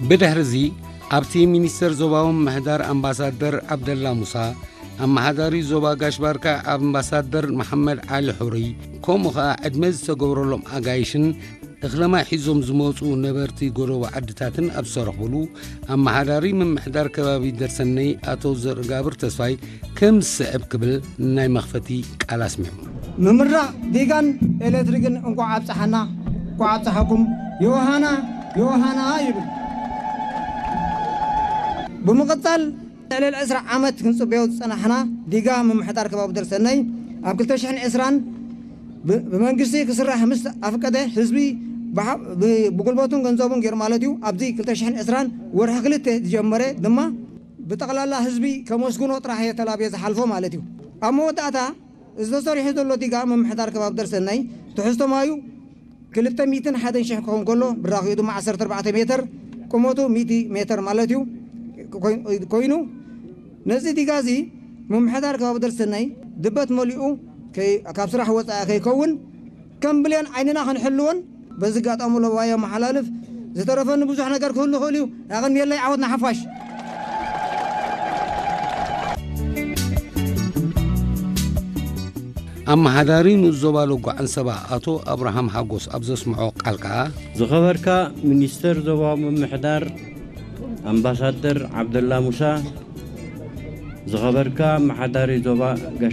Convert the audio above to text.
ብድሕርዚ ኣብቲ ሚኒስተር ዞባዊ ምምሕዳር ኣምባሳደር ዓብደላ ሙሳ፣ ኣመሓዳሪ ዞባ ጋሽ ባርካ ኣምባሳደር መሓመድ ዓሊ ሑሪ፣ ከምኡ ኸኣ ዕድመ ዝተገብረሎም ኣጋይሽን እኽለማይ ሒዞም ዝመጹ ነበርቲ ጎደቦ ዓድታትን ኣብ ዝተረኽብሉ፣ ኣመሓዳሪ ምምሕዳር ከባቢ ደርሰነይ ኣቶ ዘርጋብር ተስፋይ ከም ዝስዕብ ክብል ናይ መኽፈቲ ቃል ኣስሚዑ። ምምራቕ ዲጋን ኤሌክትሪክን እንቋዕ ኣብጽሓና፣ እንቋዕ ኣብጽሓኩም፣ ዮሃና፣ ዮሃና ይብል። ብምቕጻል ልዕሊ ዕስራ ዓመት ክንጽበዮ ዝጸናሕና ዲጋ ምምሕዳር ከባቢ ደርሰነይ ኣብ ክልተ ሽሕን ዕስራን ብ-፣ ብመንግስቲ ክስራሕ ምስ ኣፍቀደ ህዝቢ ብሓ-፣ ብ-፣ ብጉልበቱን ገንዘቡን ገይሩ ማለት እዩ። ኣብዚ ክልተ ሽሕን ዕስራን ወርሒ ክልተ ዝጀመረ ድማ ብጠቕላላ ህዝቢ ከመስግኖ ጥራሕ እየ ተላብየ ዝሓልፎ ማለት እዩ። ኣብ መወዳእታ ዝተሰሪሑ ዘሎ ዲጋ ምምሕዳር ከባቢ ደርሰነይ ትሕዝቶ ማዩ ክልተ ሚእትን ሓደን ሽሕ ክኸውን ከሎ ብራኺኡ ድማ ዓሰርተ ኣርባዕተ ሜትር ቁመቱ ሚእቲ ሜትር ማለት እዩ ኮይ-፣ ኮይኑ ነዚ ዲጋ እዚ ምምሕዳር ከባቢ ደርሰነይ ድበት መሊኡ ከይ-፣ ካብ ስራሕ ወፃኢ ከይከውን ከም ብሌን ዓይንና ክንሕልዎን በዚ ኣጋጣሚ ለባይ ኣመሓላልፍ። ዝተረፈኒ ብዙሕ ነገር ክህሉ ይኽእል እዩ። ኣቐንየለይ፣ ዓወት ንሓፋሽ። ኣመሓዳሪ ንኡስ ዞባ ሎጎ ዓንሰባ ኣቶ ኣብርሃም ሓጎስ ኣብ ዘስምዖ ቃል ከኣ፣ ዝኸበርካ ሚኒስተር ዞባዊ ምምሕዳር ኣምባሳደር ዓብደላ ሙሳ፣ ዝኸበርካ ኣመሓዳሪ ዞባ ጋሽ